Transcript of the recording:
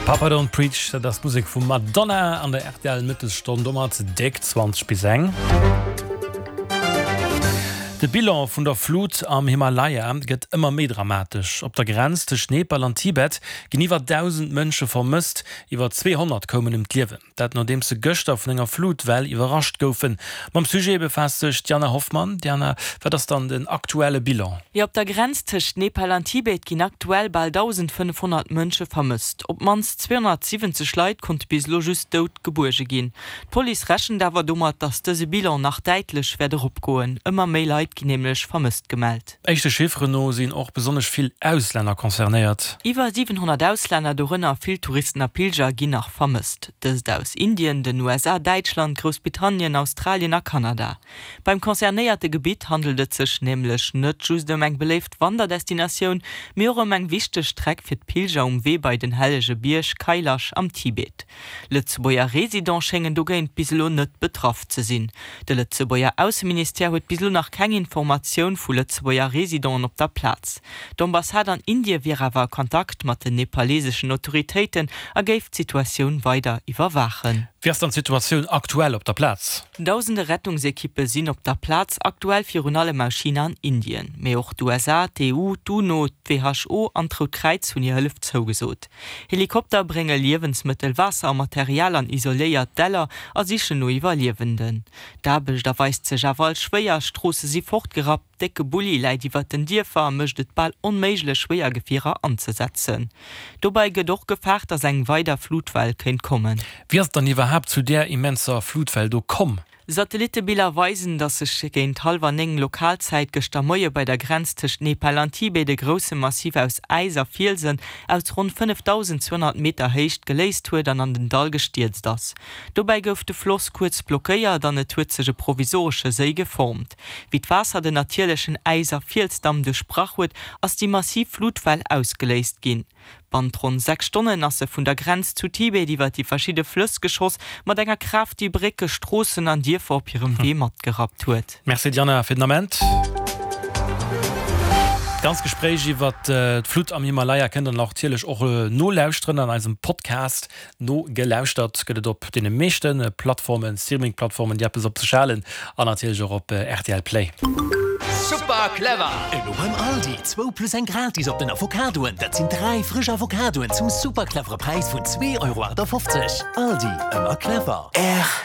Papa Don't Preach, dat ass d'Musek vum Madonna an der rtl Mëttesstonn, domat déck 20 bis eng. De Bilan vun der Flut am Himalaya gëtt ëmmer méi dramatesch. Op der Grenz tëscht Nepal an Tibet ginn iwwer 1.000 Mënsche vermësst, iwwer 200 koumen ëm d'Liewen. Dat nodeems se gëschter vun enger Flutwell iwwerrascht goufen. Mam Sujet befaasst sech d'Diana Hoffmann. Diana, wat ass dann den aktuelle Bilan? Jo, op der Grenz tëscht Nepal an Tibet ginn aktuell bal 1.500 Mënsche vermësst. Op d'mannst 270 Leit konnte bis elo just dout gebuerge ginn. D'Police rechent awer domat, datt dëse Bilan nach däitlech wäert eropgoen. Ëmmer méi Leit ginn nämlech vermësst gemellt. Éischte Chifferen no sinn och besonnesch vill Auslänner concernéiert. Iwwer 700 Auslänner, dorënner vill Touristen a Pilger, ginn nach vermësst. Dëst aus Indien, den USA, Däitschland, Groussbritannien, Australien a Kanada. Beim concernéierte Gebitt handelt et sech nämlech net just ëm eng beléift Wanderdestinatioun, mee och ëm eng wichteg Streck fir d'Pilger um Wee bei den hellege Bierg Kailash am Tibet. Lëtzebuerger Residente schéngen dogéint bis elo net betraff ze sinn. De Lëtzebuerger Ausseministère huet bis elo nach keng Informatioun vu Lëtzebuerger Residenten op der Plaz. D'Ambassade an Indie wier awer a Kontakt mat den nepaleseschen Autoritéiten a géif d'Situatioun weider iwwerwaachen. Wéi ass dann d'Situatioun aktuell op der Plaz? Dausende Rettungsekippe sinn op der Plaz, aktuell virun allem aus China an Indien. Mee och d'USA, d'EU, d'UNO, d'WHO an d'Rout Kräiz hunn hir Hëllef zougesot. Helikopter brénge Liewensmëttel, Waasser a Material an isoléiert Däller a sichen no Iwwerliewenden. D'Aarbecht erweist sech awer als schwéier, Stroosse si fortgerappt, décke Bulli läit iwwert den Dierfer a mécht et bal onméiglech, schwéier Gefierer anzesetzen. Dobäi gëtt och gefaart, datt eng weider Flutwell kéint kommen. Wéi ass et dann iwwerhaapt zu där immenser Flutwell do komm? Satellitebiller weisen, datt sech géint hallwer 9 Lokalzäit gëschter Moie bei der Grenz tëscht Nepal an Tibet e grousse Massif aus Äis a Fielsen aus ronn 5.200 Meter Héicht geléist huet an an den Dall gestierzt ass. Dobäi gouf de Floss kuerz blockéiert an et huet sech e provisoresche Séi geformt. Wéi d'Waasser den natierlechen Äis a Fielsdamm duerchbrach huet, ass déi massiv Flutwell ausgeléist ginn. Bannt ronn 6 Stonnen ass se vun der Grenz zu Tibet iwwer déi verschidde Flëss geschoss, mat enger Kraaft, déi Brécke, Stroossen an Dierfer op hirem Wee matgerappt huet. Merci Diana fir den Ament. D'ganz Gespréich iwwer d'Flut am Himalaya kënnt der natierlech och nolauschteren an eisem Podcast. Nogelauschtert gëtt et op deene meeschte Plattformen, Streaming-Plattformen, déi eppes op sech halen, an natierlech och op rtl Play. Super clever! Elo beim Aldi, zwou plus eng gratis op den Avocadoen. Dat sinn 3 frësch Avocadoen zum super clevere Präis vun 2,58 Euro. Aldi, ëmmer clever.